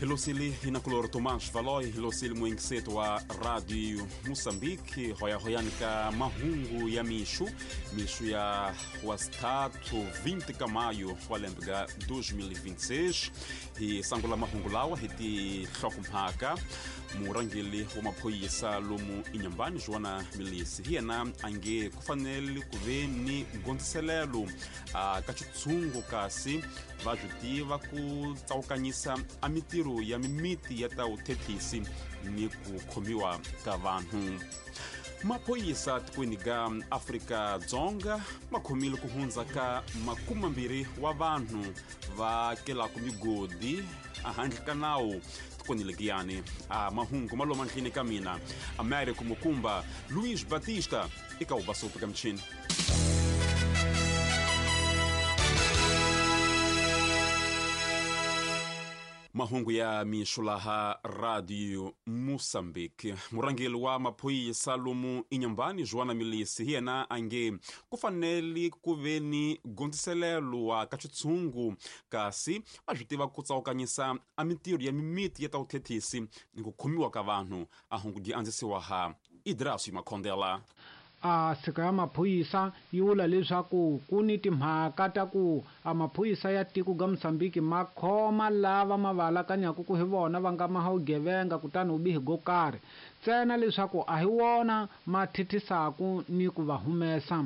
Hilosili inakulor Tomás Valoi, hilosili muingiseto wa Radio Moçambique, hoyahoyani ka mahungu ya mixu, mixu ya wastatu 20 ka maio wa lembe ga 2026. Hi sangula mahungu lawa hi tihlokomhaka. Murhangeri wa maphorisa lomu Inhambane, Joana Milisi, hi yena a nge ku fanele ku ve ni gondziselelo ka xitshungu, kasi va swi tiva ku tsawukanyisa a mitirho ya mimiti ya ta vuthethisi ni ku khomiwa ka vanhu. Maphorisa tikweni ga Afrika-Dzonga ma khomile ku hundza ka 20 wa vanhu va kelaka migodi ehandle ka nawu tikweni legiyani. A mahungu ma loma ndlini ka mina Américo Mukumba, Luiz Batista eka ubasopo ka michini. Mahungu ya mixo laha Radio Moçambique. Murhangeri wa maphorisa lomu Inhambane, Joana Milisi, hi yena a nge ku fanele ku ve ni gondziselelo wa ka xitshungu, kasi va swi tiva ku tsawukanyisa a mitirho ya mimiti ya ta vuthethisi ni ku khomiwa ka vanhu. A hungu dyi andzisiwa ha Idrasi Makhondela. A sika ya maphorisa yi vula leswaku ku ni timhaka ta ku a maphorisa ya tiko ga Mozambique ma khoma lava ma va alakanyaku ku hi vona va nga maha vugevenga kutani vubihi go karhi, ntsena leswaku a hi wona ma thithisaku ni ku va humesa.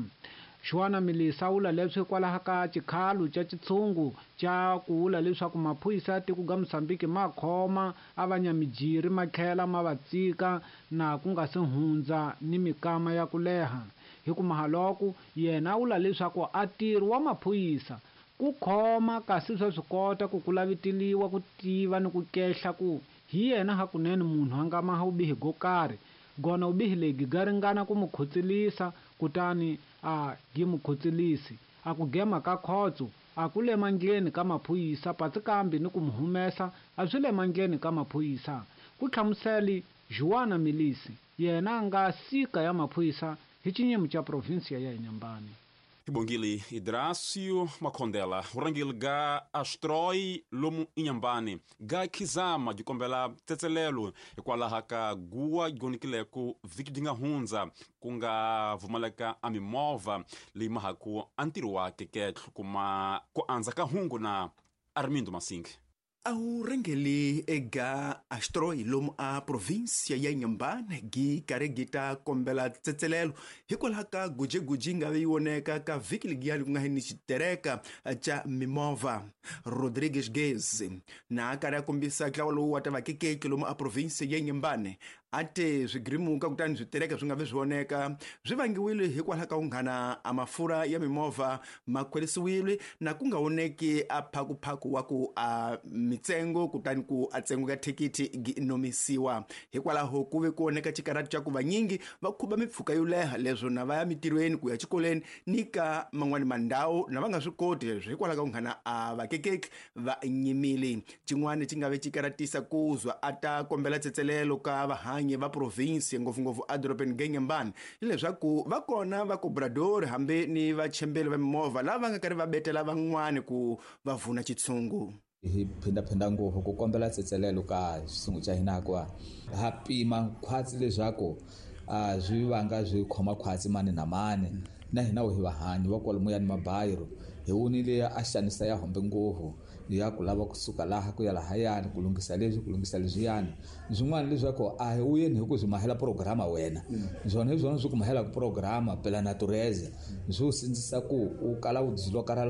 Joana Milisa vula leswi hikwalaho ka xikhalo xa xitshungu xa ku vula leswaku maphorisa ya tiko ga Mozambique ma khoma a va nyamijiri ma tlhela ma va tsika na ku nga se hundza ni mikama ya ku leha. Hi ku mahaloko yena a vula leswaku a ntirho wa maphorisa ku khoma, kasi swa swi kota ku ku laviteliwa ku tiva ni ku kehla ku hi yena hakunene munhu a nga maha vubihi go karhi, gona vubihi lebyi ga ringana ku mu khotselisa, kutani a gi mu khotselisi. A ku gema ka khotso a ku le mandleni ka maphorisa, patsi kambe ni ku mu humesa a swi le mandleni ka maphorisa. Ku hlamuseli Joana Milisi, yena a nga sika ya maphorisa hi xinyimo xa provinsia ya Inhambane. Ibongile Idrasio Makhondela. Vurhangeri ga Astroi lomu Inhambane ga Khizama byi kombela tsetselelo hikwalaho ka guwa gonikileko vhiki byi nga hundza ku nga pfumaleka a mimovha leyi mahaku a ntirho wa keketlo. Kuma ku andza ka hungu na Armindo Masingi. A wu rhangeli ega Astroi lomu a provinsia ya Inhambane gi karhi gi ta kombela tsetselelo hikwalaho ka gujeguji nga ve yi voneka ka vhiki legiyani ku nga hi ni xitereka xa mimovha. Rodrigues Gez na a karhi a kombisa ntlawa lowu wa ta vakekeki lomu a provinsia ya Inhambane a te swigirimuka kutani switereka swi nga vi swi voneka swi vangiwile hikwalaho ka unghana a mafurha ya mimovha ma khwerisiwile na ku nga voneki a phakuphaku wa ku a mitsengo kutani ku a tsengo ka thikithi gi nomisiwa. Hikwalaho ku ve ku voneka xikarhati xa ku vanyingi va khuba mipfhuka yo leha leswo na va ya mitirhweni ku ya xikolweni ni ka man'wani mandhawu na va nga swi koti leswo hikwalaho ka unghana a vakekeki va nyimile. Xin'wana xi nga ve xi karatisa ku zwa a ta kombela tsetselelo ka vahanyi va provinsi ngopfungopfu edorobeni Inhambane hileswaku va kona va cobrador hambi ni vachembeli va mimovha lava va nga karhi va betela van'wani ku va vuna xitshungu. Hi phindaphinda ngopfu ku kombela tsetselelo ka xitshungu xa hina hikuva ha pima khwatsi leswaku a swi vanga swi khoma khwatsi mani na mani, na hina hi vahanyi va kwalomuya ni mabayiro hi wunile a xanisa ya hombe ngopfu ya ku lava kusuka laha ku ya lahayani ku lunghisa leswi ku lunghisa leswiyani. Swin'wana leswaku a hi wuyeni hi ku swi mahela programa wena, swona hi swona swi ku mahelaka programa pela natureza swi u sindzisa ku u kala u dzilo karhala.